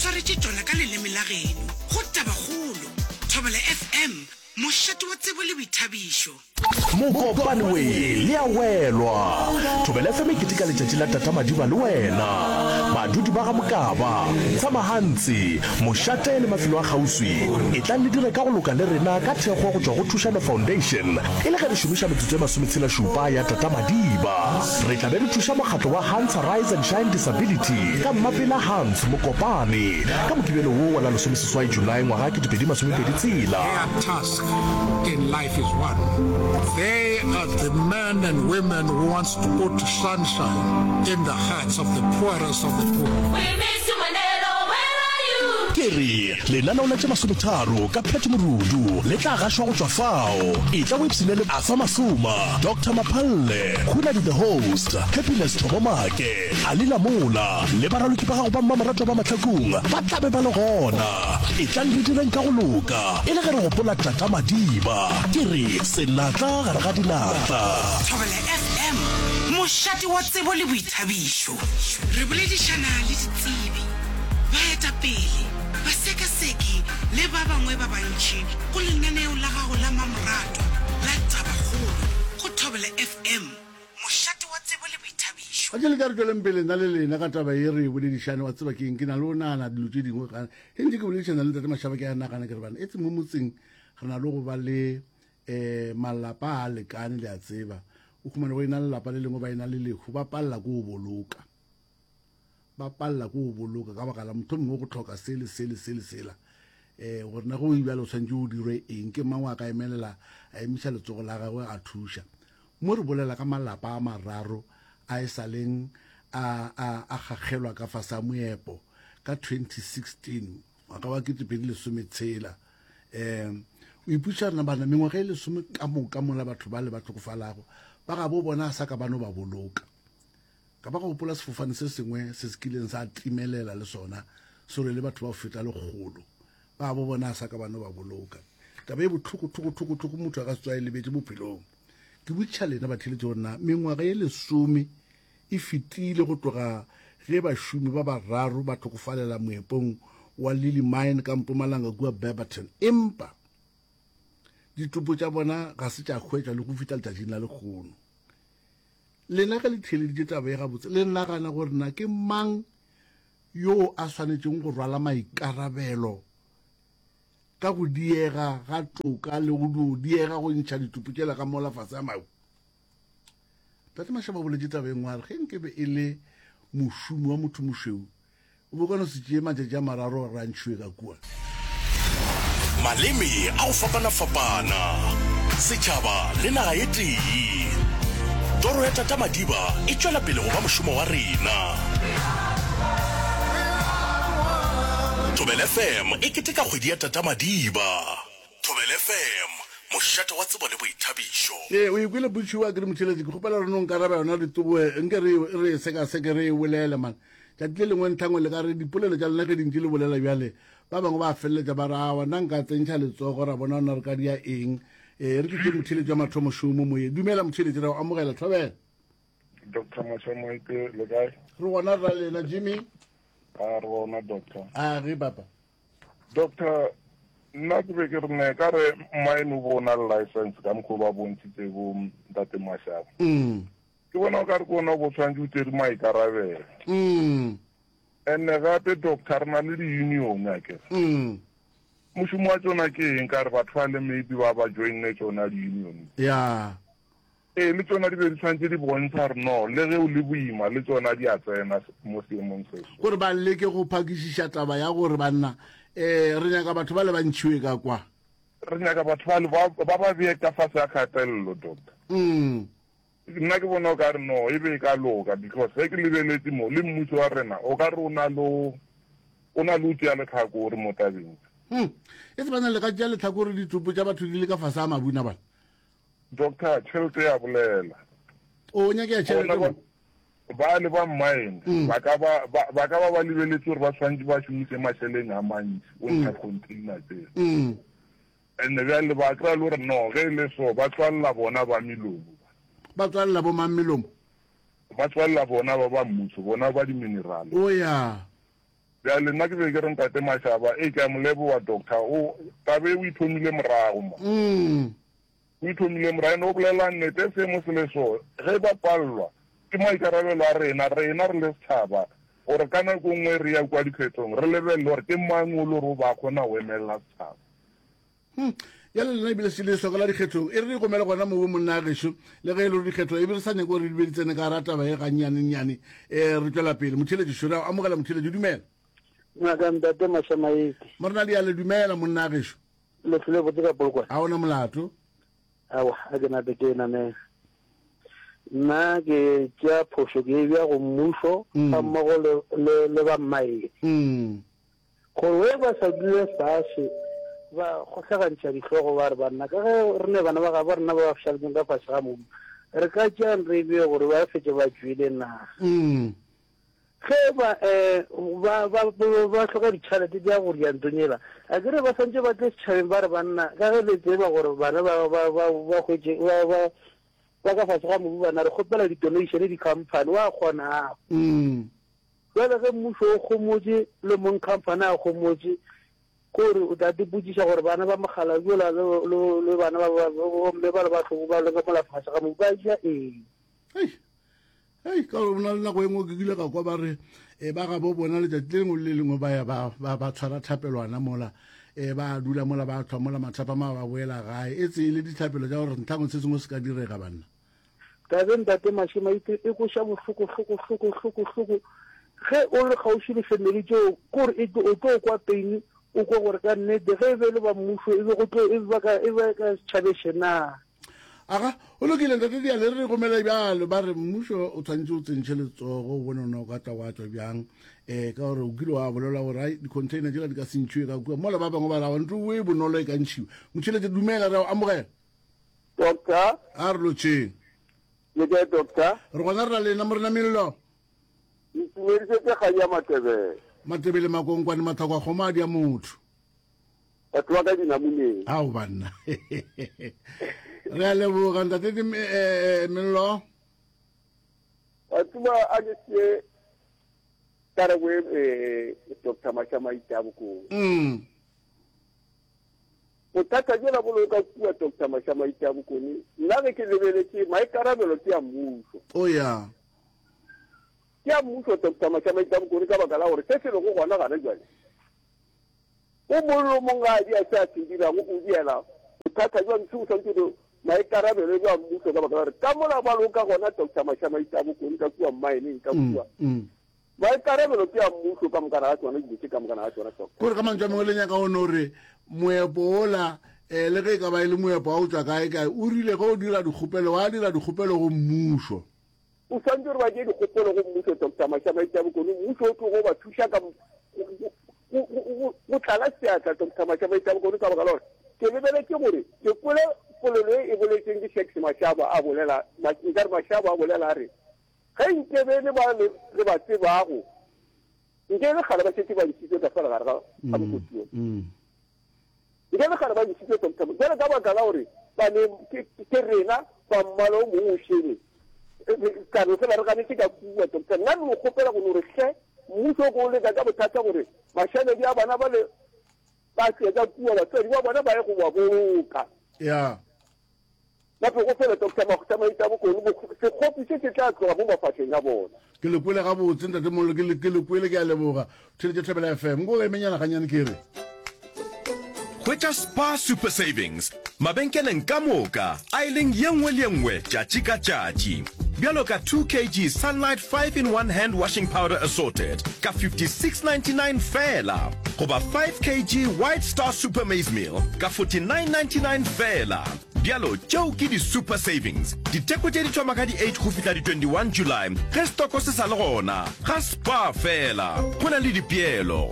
swaretše tšona ka leleme la geno go Tabakgolo, Thobela FM, mošate wa tsebo le boithabišo. Mokopane we le a welwa. Thobela FM e keteka letšatši la Tata Madiba le wena. Badudi ba ga Mokaba, Tshamahantsi, Mošate le mafelo a kgauswi, etlang le dire ka go loka le rena ka thekgo go tšwa go Thušano Foundation e le ge re šomiša metsotso e masometshela-šupa ya Tata Madiba. Re tla be re thuša mokgatlo wa Hans Rise and Shine Disability ka Mmapela Hans Mokopane ka Mokibelo wo wa la lesomeseswai Julae ngwaga 2026. Their task in life is one, they are the men and women who wants to put sunshine in the hearts of the poorest of the poor. We miss you Mandela, where are you? Ke re, lenaneo la tše masometharo ka Pat Morudu le tla gašwa go tšwa fao. Etla o ipshine le Arthur Masoma, Doctor Maphalle, Khunadi the Host, Happiness Thobo Make, Ali Lamola le baraloki ba gago ba mmamoratwa ba Mahlakung ba tla be ba le gona. Etlang re direng ka go loka e le ge re gopola Tata Madiba. Ke re, senatla gare ga dinatla. Thobela FM, mošate wa tsebo le boithabišo. Re boledišana le ditsebi, baetapele, basekaseki le ba bangwe ba bantši go lenaneo la gago la mamoratwa la Tabakgolo go Thobela FM, mošate wa tsebo le boithabišo. A ke le ka re tšweleng pele nna le lena ka taba ye re e boledišane, wa tseba ke eng, ke na le go nagana dilo tše dingwe ga ge ntše ke boledišana le ntate Mashaba ke a nagana ke re bana etse mo motseng re na le go ba le um malapa a lekane le a tseba o humane go ena le lapa le lengwe ba ena le lehu ba palela ke go boloka ba palela ke go boloka ka baka la motho mongwe go tlhoka se le se le se le sela um gore na go bjale o tshwanetse o dirwe eng ke mang a ka emelela a emiša letsogo la gagwe a thuša mo re bolela ka malapa a mararo a e sa leng a a a gakgelwa ka fase a moepo ka 2016 ngwaga wa 2016 um o ipotšiša rena bana mengwaga e lesome ka moka mola batho ba le ba tlhokofalago ba gabo bona a sa ka ba no ba boloka ka ba go gopola sefofane se sengwe se se kileng sa timelela le sona se rwele batho ba go feta lekgolo ba gabo bona a sa ka ba no ba boloka taba e bohloko tlhoko tlhoko tlhoko motho a ka se tswa e lebetše bophelong ke botšiša lena batheletše gore na mengwaga e lesome e fetile go tloga ge bašomi ba bararo ba hlokofalela moepong wa Lily Mine ka Mpumalanga kua Barberton, empa ditopo tša bona ga se tša hwetšwa le go fihla letšatšing la lekgono. Lena ge le theeleditše taba ye gabotse, le nagana gore na ke mang yo a swanetšeng go rwala maikarabelo ka go diega ga toka le go dio diega go ntšha ditopo tšela ka mola fase a mabu? Tate Mashaba o boletše taba e nngwe a re ge nke be e le mošomi wa motho mošweu o be o ka no se tšee matšatši a mararo gore a ntšhiwe ka kua. Maleme a go fapana-fapana, setšhaba le naga e tee. Toro ya Tata Madiba e tšwela pele go ba mošomo wa rena. Thobela FM e keteka kgwedi ya Tata Madiba. Thobela FM, mošate wa tsebo le boithabišo. Ee, o ikwele potšišo a ke re motheeletši, ke kgopela gore no nkaraba yona re tsogoe, nke re re e sekaseke re e bolele man. Tšatši le lengwe ntlhangwe le ka re dipolelo tša lena ge di ntše le bolela bjale, ba bangwe ba feleletša ba re awa nna nka tsentšha letsogo ra bona na re ka dia eng. Ee, re ke tše motheeletši wa mathomo šomo moyeng. Dumela motheeletši, re a go amogela, thobela. Doctor Mashamoete, le kae? Re gona rra lena Jimmy. A re gona doctor. A ge papa. Doctor, nna ke be ke re ne ka re mine o bo na le license ka mokgwa ba bontšhitse bo ntate Mashaba. Mm. Ke bona o ka re ke ona o bo tshwanetse o tsere maikarabelo. Mm. And gape doctor re na le di-union akere. Mm. Mošomo wa tsona ke eng ka re batho ba le maybe ba ba joinne tsona di-union. Yeah. Ee, le tšona di be di swanetše di bontsha gore no, le ge o le boima, le tšona di a tsena mo seemong se so. Gore ba leke go phakišiša taba ya gore banna, eh, re nyaka batho bale ba ntšhiwe ka kwa. Re nyaka batho bale ba, ba ba bee ka fase ga kgatelelo, Doctor. Mm. Nna ke bona o ka re no, e be e ka loka, because ge ke lebeletše mo, le mmušo wa rena o ka re o na le, o na le o tšea lehlakore mo tabeng. Hmm. E se bana le ka tšea lehlakore ditopo tša batho di le ka fase ga mabuna bana. Doctor, tšhelete ya bolela. O nyakea tšhelete mo? Ba le ba mine mm. ba ka ba ba ka ba ba lebeletse gore ba tshwanetse ba šomise mašeleng a mantši o ntsha mm. container tse. Mm. And bjale ba kry-a le gore no ge e le so ba tswalela bona ba melomo. Ba tswalela bo mang melomo? Ba tswalela bona ba ba mmuso, bona ba di-mineral. O ya. Bjale nna ke be ke re Ntate Mashaba, ee ke a mo leboga doctor, o, taba e o e thomile morago mo. O e thomile morago, and o bolela nnete, seemo se le so, ge ba palelwa, ke maikarabelo a rena, rena re le setšhaba, gore ka nako e nngwe re ya kua dikhethong, re lebelele gore ke mang o le gore o ba kgona go emelela setšhaba. Hmm. Bjale lena ebile se le hloka la dikgethong, e re re gomele gona mowe monna gešo, le ge e le gore dikgetho e be re sa nyake gore di be di tsene ka gara taba e gannyanenyane, um re tšwela pele. Motheeletši šo, re a amogela motheeletši, dumela. Ngaka Ntate Mashamaite. Morena Diale, dumela monna gešo. Le hlole botse ka Polokwane. A ona molato. Awa, a ke nape ke namela. Nna ke tšea phošo ke e bja go mmušo mm. ga mmogo le, le, le ba mmaene. Mm. Gore we ba sa dule fase ba kgohlagantšha dihlogo ba re banna ka ge re ne bana ba gabo rena ba ba šaletseng ka fase ga mobu re ka tšeang re bee gore ba fetše ba tšwele na. Mm. Ge ba um ba ba ba hloka ditšhelete tša go ria ntlong yela, a ke re ba swantše ba tle setšhabeng ba re banna, ka ge le tseba gore bana ba ba ba ba hwetše ba ba ba ka fase ga mobu bana, re kgopela di-donation di-company, wa kgona. Mm. Bjale ge mmušo o kgomotše le mong company a kgomotše, ke gore o tla tipotšiša gore bana ba mokgalabje yola le le le bana ba ba bomme ba le ba hloko ba le ka mola fase ga mobu ba ja eng. Hei. Hei, ka gore na le nako e nngwe ke kile ka kwa ba re e ba gabo bona letšatši le lengwe le le lengwe ba ya ba ba ba tshwara thapelwana mola e ba dula mola ba tlhwa mola mathapama ba boela gae e tse e le dithapelo tša gore ntlhangwe se sengwe se ka direga banna. Tabe ntate Mashemaite e kweša bohloko hloko hloko hloko hloko ge o le kgauswi le family tšeo kore e o tlo kwa pain o kwa gore ka nnete ge e be le ba mmušo e be go tlo e ba ka e be ka setšhabeše na. Aga, go lokile ntate Diale, re gomele bjalo ba re mmušo o tshwanetse o tsentšhe letsogo o bone ona o ka tla wa tswa bjang um ka gore o kile wa bolela gore ai di-container tšela di ka se ntšhiwe ka kua mola ba bangwe ba ra ntlo e bonolo e ka ntšhiwa motšhelete dumela re a o amogela Doctor. A re lotšheng. Le kae doctor? Re gona re na lena morena Mello. Ntumedišetše kgang ya Matebele. Matebele makonkwane mathako a kgomo a di a motho. Batho ba ka dinamuneng. Ao banna. Re a leboga ntate eh, eh, Mello. Wa tseba a ke sie karabo e eh, Dr. Mashamaite a bokong. Mm. Bothata bjola bo lego ka kua Doctor Mashamaite a Bokone, nna ge ke lebeletše maikarabelo ke a mmušo. Oh ya. Ke a mmušo Doctor Mashamaite a Bokone ka baka la gore se se lego gona gana jwale o mong le o mong ga a dia se a se dirago o diela bothata jwa ntshe o swanetše gore maikarabelo bja mmušo ka baka la gore ka mola ba lego ka gona Doctor Mashamaite a Bokone ka kua mmaeneng ka mm, kua mm. Maikarabelo ke a mmušo ka mokana ga tšona, dilo tše ka mokana ga tšona, Doctor. Kore ka mantšu a mangwe le nyaka go no re moepo wola um le ge e ka ba e le moepo wa go tšwa kae kae o rile ge o dira dikgopelo wa dira dikgopelo go mmušo. O swanetše gore ba tšee dikgopelo go mmušo, Doctor Mashamaite Bokone, mmušo o tlogo ba thuša ka go tlala seatla, Doctor Mashamaite Bokone, ka baka la gore ke lebeletše gore ke kwele polelo e e boletsweng ke Shacks Mashaba a bolela, nkare Mashaba a bolela a re Ge nke be le ba re ba tsebago, nke e le kgale ba šetše ba ntšhitšwe ka fela gare ga ga mokoti wo. Nke e le kgale ba ntšhitšwe Doctor Bjale ka baka la gore ba ne ke ke rena ba mmala o mongwe o šele, ka no fela re ganetše ka kua Doctor. Nna re no kgopela go no re hle mmušo o ko o leka ka bothata gore mašaledi a bana bale ba tšwe ka kua, batswadi ba bona ba ye go ba boloka. Yeah. Gape go fela Doctor Makgotla Maita Bokone, sekgopi se se tla tloga mo mafahleng a bona. Ke le kwele gabotse ntate Mollo, ke le, ke le kwele, ke a leboga. Theletše Thobela FM. Nko emenyana ganyane ke re. Hwetša Spar Super Savings mabenkeleng ka moka aeleng ye nngwe le ye nngwe tšatši ka tšatši. Bjalo ka 2 kg Sunlight 5 in 1 Hand Washing Powder Assorted ka 56.99 feela goba 5 kg White Star Super Maize Meal ka 49.99 feela. Bjalo tšeo ke di super savings. Ditheko tše di thoma ka di 8 go fihla di 21 July ge stoko se sa le gona. Ga Spar feela, go na le dipeelo.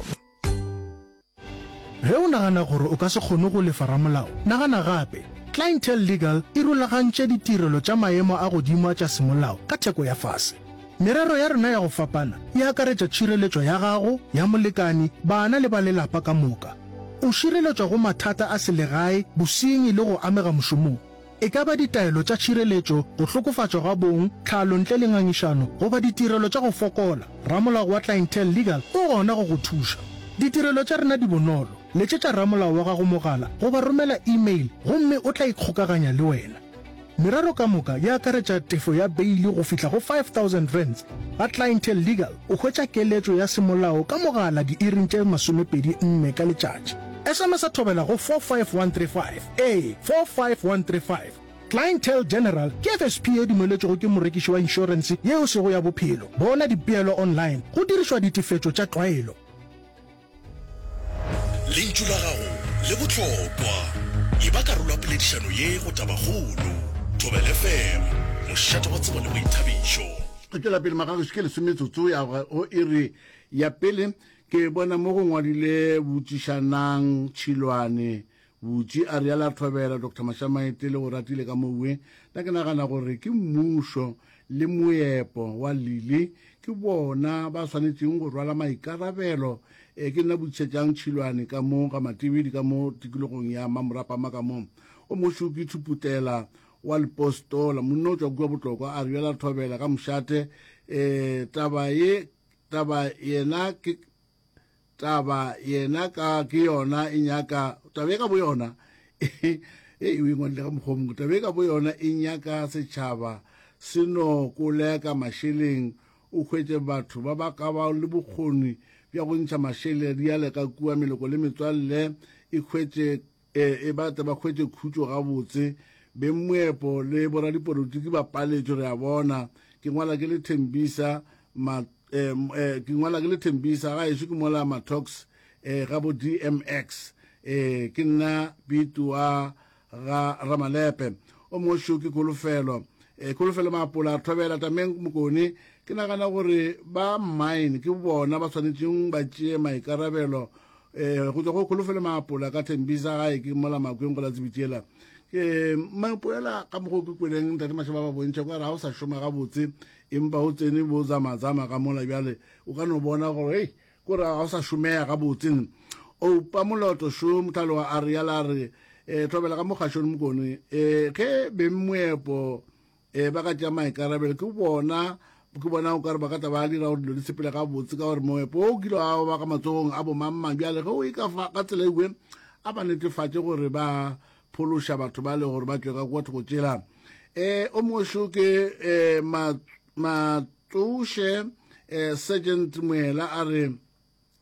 Ge o nagana gore o ka se kgone go lefa ramolao, nagana gape. Clientele Legal e rulagantše ditirelo tša maemo a godimo a tša semolao ka theko ya fase. Merero ya rena ya go fapana e akaretša tšhireletšo ya gago, ya molekani, bana le ba lelapa ka moka. O šireletšwa go mathata a selegae, bosenyi le go amega mošomong. E ka ba ditaelo tša tšhireletšo, go hlokofatšwa ga bong, tlhalo ntle le ngangišano, goba ditirelo tša go fokola, ramolao wa Clientele Legal o gona go go thuša. Ditirelo tša rena di bonolo, letšetša ramolao wa gago mogala goba romela email gomme o tla ikgokaganya le wena. Merero ka moka e akaretša tefo ya beili go fihla go R5000. Ga Clientele Legal o hwetša keletšo ya semolao ka mogala diiring tše 24 ka letšatši. SMS-a thobela go 45135. Ee, 45135. Clientele General ke FSP ye dumeletšwego ke morekiši wa inšorense ye e sego ya bophelo. Bona dipeelo online go dirišwa ditefetšo tša tlwaelo. Lentšu la gago le bohlokwa. Eba karolo ya poledišano ye go Tabakgolo. Thobela FM, mošate wa tsebo le boithabišo. Re tšwela pele magagešo ke lesometsotso ya go iri ya pele. Ke bona mo go ngwadile Botšišanang Tšhilwane Butši a realo a thobela Doctor Mashamaite le go ratile ka mowe. Nna ke nagana gore ke mmušo le moepo wa Lili ke bona ba swanetšeng go rwala maikarabelo. E, ke nna Butšetšang Tšhilwane ka mo ga Matebedi ka mo tikologong ya Mamorapama ka mo. O mošo ke Thuputela wa Lepostola, monna o tšwa kua Botlokwa a realo a thobela ka mošate. E, taba ye, taba yena ke Taba yena ka ke yona e nyaka taba e ka bo yona e e ngwadile ka mokgwa mongwe taba e ka bo yona e nyaka setšhaba se no koleka mašeleng o hwetše batho ba ba ka ba le bokgoni bja go ntšha mašele diale ka kua meloko le metswalle e hwetše E, e ba tle ba hwetše khutšo gabotse. Beng moepo le boradipolotiki ba paletšwe, re a bona. Ke ngwala ke le Thembisa, ma, eh, eh, ke ngwala ke le Thembisa, ga ešo ke mola Matox, eh, ga bo DMX. Eh, ke nna Pitu wa ga Ramalepe. O mongwe šo ke Kholofelo. Eh, Kholofelo Maapola, Thobela, Tameng Mokone. Ke nagana gore ba mine ke bona ba swanetšeng ba tšee maikarabelo um go tswa go kholofelo maapola ka thembisa gae ke mola makweng go la tsebitšela ke mapoela ka mokgwa ke kweleng ntate mašaba ba bontšha kwa re ga o sa šoma gabotse empa o tsene bo zamazama ka mola bjale o ka no bona gore hei kore ga o sa šomega gabotse oupa moloto šo mothalo wa a re yala re um thobela ka mokgašong mokone um ge beng moepo Ee, ba ka tšea maikarabelo. Ke bona, ke bona o ka re ba ka tla ba dira gore dilo di sepele gabotse, ka gore moepo o kile wa ba ka matsogong a bomangmang. Bjale ge o e ka fa ka tsela ewe, a ba netefatše gore ba phološa batho ba le gore ba tšwe ka kua thoko tšela. Um o mongwe šo ke um Matsoše um Sergeant Moela a re,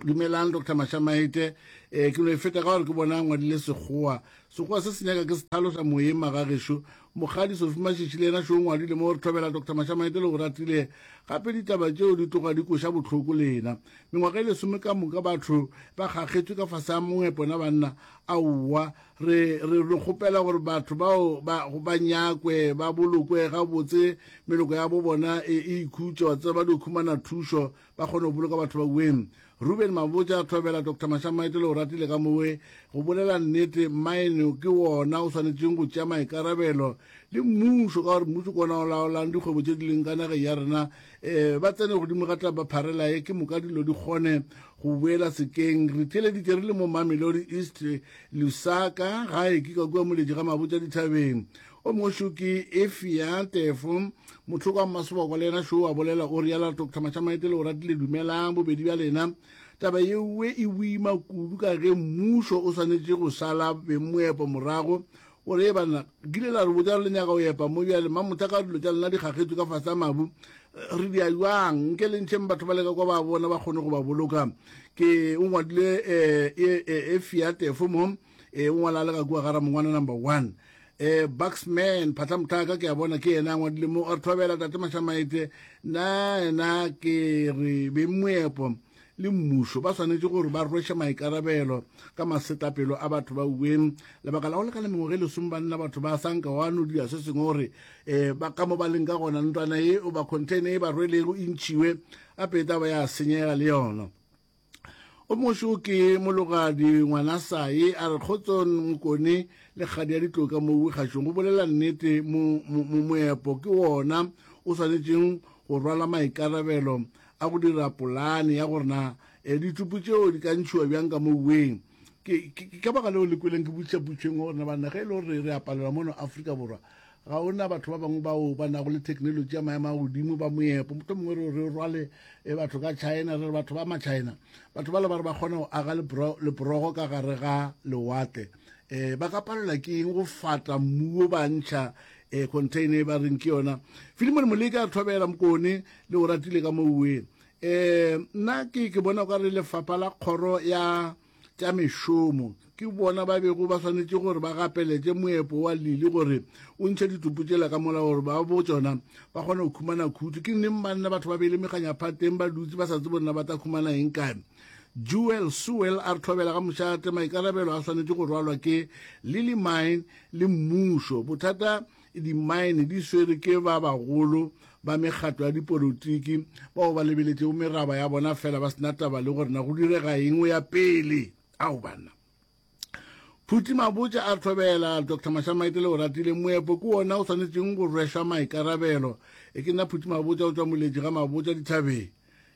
Dumelang Doctor Mashamaite, eh, ke no e feta ka gore ke bona ngwadile sekgowa. Sekgowa se se nyaka ke se tlhalosa moyeng magagešo. Mokgadi Sophie Mashishi le yena šo ngwadile mo re thobela Doctor Mashamaite le go ratile. Gape ditaba tšeo di tloga di koša bohloko lena. Mengwaga e lesome ka moka batho ba kgakgetšwe ka fase ga moepo na banna. Aowa, re re re kgopela gore batho bao ba ba nyakwe ba bolokwe gabotse meloko ya bo bona e e ikhutše wa tseba ba dio khumana thušo ba kgone go boloka batho ba weng. Ruben Mabotja, Thobela Doctor Mashamaite le o ratile ka mowe. Go bolela nnete, mine ke wona o swanetšeng go tšea maikarabelo le mmušo, ka gore mmušo ke wona o laolang dikgwebo tše di leng ka nageng ya rena. Um ba tsene godimo ga taba pharela ye, ke moka dilo di kgone go boela sekeng. Re theeleditše re le mo Mamelodi East, Lusaka, gae ke ka kua Moletši ga Mabotja dithabeng. O mongwe šo ke Efia Tefo, Mohloko wa Mmasoboko, le yena šo a bolela o realo, Doctor Mashamaite le o ratile dumelang bobedi bja lena. Taba yewe e boima kudu ka ge mmušo o swanetše go šala bengmoepo morago gore e banna kile la re botša re le nyaka go epa mo bjale mamotha ka dilo tša lena di gagetšwe ka fase a mabu re dia jwang nke le ntšheng batho ba leka kwa ba bona ba kgone go ba boloka ke o ngwadile um Efia Tefo mo e o ngwala le ka kua ga ramongwana number one eh Bucksman Phatla Mothaka ke a bona ke yena a ngwadile mo a re thobela tate Mashamaite na yena ke re beng moepo le mmušo ba swanetše gore ba rweše maikarabelo ka masetlapelo a batho ba uweng lebaka la go lekana mengwaga e lesome banna batho ba sanka wa no dira se sengwe gore um ba ka mo ba leng ka gona ntlwana ye o ba container e ba rwelego e ntšhiwe gape e taba ya senyega le yona O mošo ke mologadi ngwana sae a re kgotsong mokone le kgadi ya ditloka mo kgašong go bolela nnete mo moepo ke wona o swanetšeng go rwala maikarabelo a go dira polane ya gore na e, ditupu tšeo di ka ntšhiwa bjang ka mouweng. Ke, ke, ke ka baka leo le kweleng ke botšiša potšo e nngwe gore na banna ge e le gore re a palelwa mono Afrika Borwa, ga o na batho ba bangwe bao ba nago le theknolotši ya maemo a godimo ba moepo, mohlomongwe re, re rwale e batho ka China, re re batho ba ma-China, batho bale ba re ba kgona go aga lepro, leporogo ka gare ga lewatle. Um ba ka palelwa ke eng go fata mmu wo ba ntšha um container e ba reng ke yona. Filimone Moleka a re thobela Mokone le o ratile ka mouwe. Um nna ke, ke bona o ka re lefapha la kgoro ya tša mešomo ke bona ba bego ba swanetše gore ba gapeletše moepo wa Lili gore o ntšhe ditopo tšela ka mola gore ba bo tšona ba kgone go khumana khutšo. Ke neng banna batho ba beile meganyaphateng ba dutse ba sa tsebe gore na ba tla khumana eng kae. Jewel Sewell a re thobela ga mošate maikarabelo a swanetše go rwalwa ke Lily Mine le mmušo. Bothata Dimmaene di swere ke ba bagolo ba mekgatlo ya dipolotiki bao ba lebeletšego meraba ya bona fela ba se na taba le gore na go direga eng go ya pele. Ao banna. Phuti Mabotja a thobela Dr. Mashamaite le Oratile moepo ke wona o swanetšeng go rwešwa maikarabelo. E ke nna Phuti Mabotja o tšwa Moletši ga Mabotja dithabeng.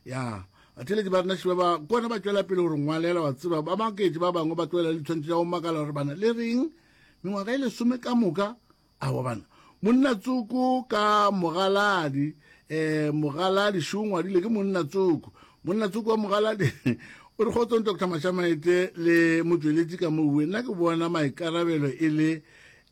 Ya batheeletši ba rena šiba ba kona ba tšwela pele gore ngwalela wa tseba ba maketše ba bangwe ba tloela le ditshwantšho tša go makala gore bana le reng mengwaga e lesome ka moka Aowa bana. Monna tsoko ka mogaladi, eh, mogaladi šo ngwadile ke monna tsoko. Monna tsoko wa mogaladi o re kgotsong Dr. Mashamaete le motšweletši ka mouwe. Nna ke bona maikarabelo e le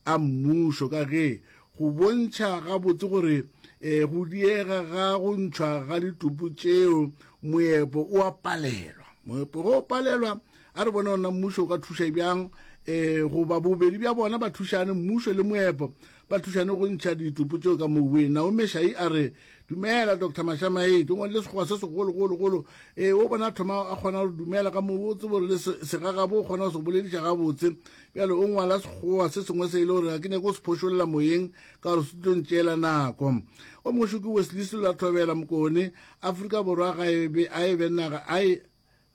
a mmušo ka ge go bontšha gabotse gore eh, go diega ga go ntšhwa ga ditopo tšeo moepo o a palelwa. Moepo go palelwa A re bone gore na mmušo o ka thuša bjang um goba bobedi bja bona ba thušane, mmušo le moepo, ba thušane go ntšha ditopo tšeo ka mobung. Naomi Shai a re, Dumela, Doctor Mashamaete. O ngwadile sekgowa se segologologolo. Ee, o bona a thoma a kgona gore dumela ka mobu, o tsebe gore le segagabo o kgona go se bolediša gabotse. Bjale o ngwala sekgowa se sengwe se e le gore ga ke nyake go se phošolla moyeng ka gore se tlo ntšeela nako. O mongwe šo ke Wesley Sello a thobela Mokone, Afrika Borwa ga e be a e be naga a e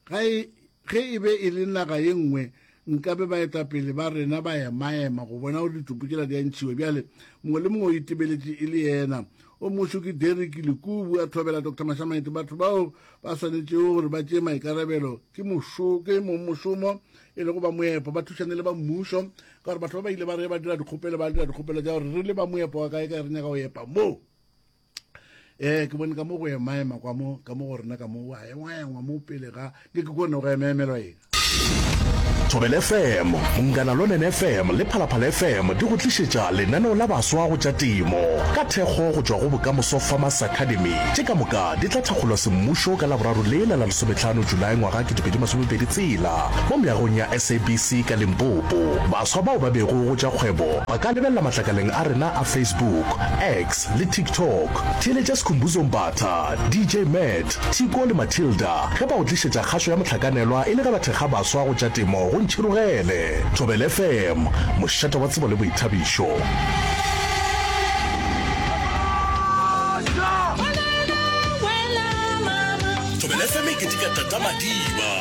Ga e, ge e be e le naga ye nngwe, nkabe baetapele ba rena ba emaema go bona gore ditopo tšela di a ntšhiwa. Bjale mongwe le mongwe o itebeletše e le yena. O mongwe ke Derrick Lekubu a thobela Doctor Mashamaite. Batho bao ba swanetšego gore ba tšee maikarabelo ke mošo, ke mongmošomo e lego ba moepo, ba thušane le ba mmušo, ka gore batho ba ba ile ba re ba dira dikgopelo, ba dira dikgopelo tša gore re le ba moepo wa kae kae re nyaka go epa mo. Eh, ke bone ka mo go emaema kwa mo, ka mo go rena ka mo, wa engwaengwa mo pele ga, ke ke kone go emaemelwa eng. Thobela FM, Munghana Lonene FM le Phalaphala FM di go tlišetša lenaneo la baswa go tša temo ka thekgo go tšwa go Bokamoso Farmers Academy. Tše ka moka di tla thakgolwa semmušo ka Laboraro lela la lesometlhano Julae ngwaga 2020 tsela mo meagong ya SABC ka Limpopo. Baswa bao ba bego go tša kgwebo ba ka lebelela matlakaleng a rena a Facebook, X, le TikTok. Theeletša Skhumbuzo Mbatha, DJ Matt, Thiko le Matilda ge ba go tlišetša kgašo ya mohlakanelwa e le ge ba thekga baswa go tša temo go Ntšhirogele. Thobela FM, mošate wa tsebo le boithabišo. Thobela FM e keteka Tata Madiba,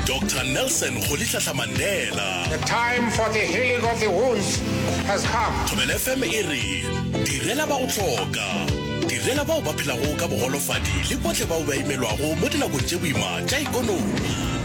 Doctor Nelson Rholihlahla Mandela. The time for the healing of the wounds has come. Thobela FM e re Direla ba go hloka. Direla bao ba phelago ka bogolofadi le bohle bao ba imelwago mo dinakong tše boima tša ekonomi.